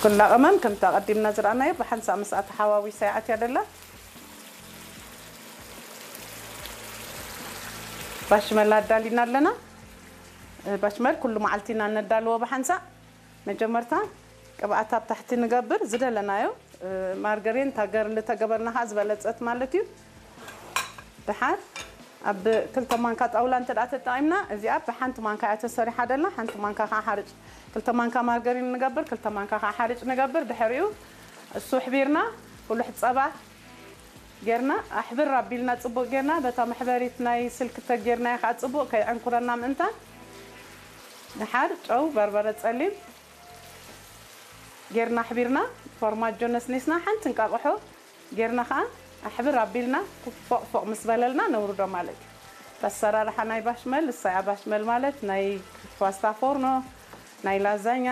ኩላ ቀመም ከምቲ ኣቐዲምና ዝረኣናዮ ብሓንሳእ ምስኣ ተሓዋዊሳ ይኣትያ ደላ። ባሽመል ኣዳሊና ኣለና። ባሽመል ኩሉ መዓልቲ ኢና ነዳልዎ ብሓንሳእ። መጀመርታ ቅብኣት ኣብ ታሕቲ ንገብር፣ ዝደለናዮ ማርገሪን ታገር እንተገበርና ከዓ ዝበለፀት ማለት እዩ። ድሓር ኣብ ክልተ ማንካ ጣውላ እንተ ደኣ ተጠቒምና፣ እዚኣ ብሓንቲ ማንካ እያ ተሰሪሓ ደላ። ሓንቲ ማንካ ከዓ ሓርጭ፣ ክልተ ማንካ ማርገሪን ንገብር፣ ክልተ ማንካ ከዓ ሓርጭ ንገብር። ድሕሪኡ እሱ ኣሕቢርና ፍሉሕ ፀባ ጌርና ኣሕብር ኣቢልና ፅቡቅ ጌርና በታ መሕበሪት ናይ ስልኪ ተጌርናዮ ከዓ ፅቡቅ ከይዕንኩረና ምእንታን ድሓር ጨው፣ በርበረ ፀሊም ጌርና ኣሕቢርና ፎርማጆ ነስኒስና ሓንቲ እንቃቕሖ ጌርና ከዓ ኣሕብር ኣቢልና ፎቕ ፎቕ ምስ በለልና ነውርዶ ማለት እዩ። ኣሰራርሓ ናይ ባሽመል እሳያ ባሽመል ማለት ናይ ፓስታ ፎርኖ ናይ ላዛኛ